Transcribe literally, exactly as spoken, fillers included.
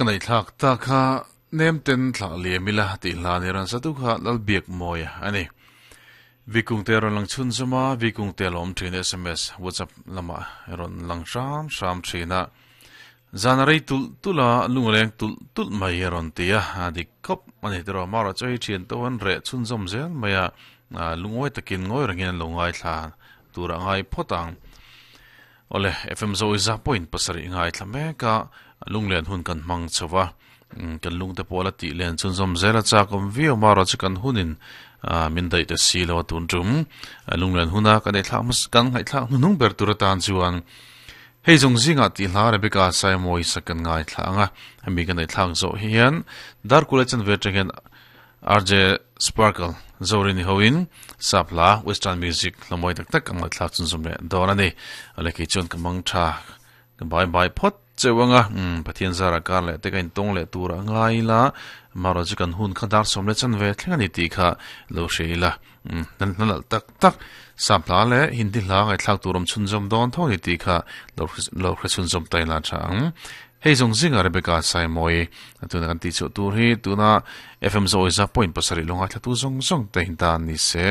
Ka nei thlak ta kha nem ten thla liamila ti hla ni ran satu kha lal biak moya ani. Vikung te ron lang chun zuma vikung te lom thin S M S WhatsApp lama ron lang sham sham thina zanarei tul tula lungleng tul tul mai ron tia adi kop ani tro mara choi thian to an re chun zom zel maya lungoi takin ngoi rangin longai thla tura ngai photang ole F M zo iza point pasari ngai thlame ka lunglen hun kan mang chawa kan lung te pola ti len chun zom zela cha kom vio mara chu kan hunin min dai te si lo tun tum lunglen huna kan ei thla mas kan ngai thla nung ber tur tan chuan hei zong zinga ti hla Rebecca sai moi sakan ngai thla anga hemi kan ei thlang zo hian dar kula chan ve tengen R J Sparkle zorini hoin sapla western music lamoi tak tak ang thla chun zum le don ani ale ki chun kamang tha bye bye phot chewanga um Pathian zara kar le te kain tong le tura ngai la maro chu kan hun khadar som le chan ve thlenga ni ti kha lo sheila um nan nan tak tak sapla le Hindi hla ngai thlak turam chun jom don tho ni ti kha lo lo khre chun jom tai la chang hei zong zinga Rebecca sai moi tuna kan ti chu tur hi tuna F M zo iza point pasari longa thla tu zong zong te hin ta ni se.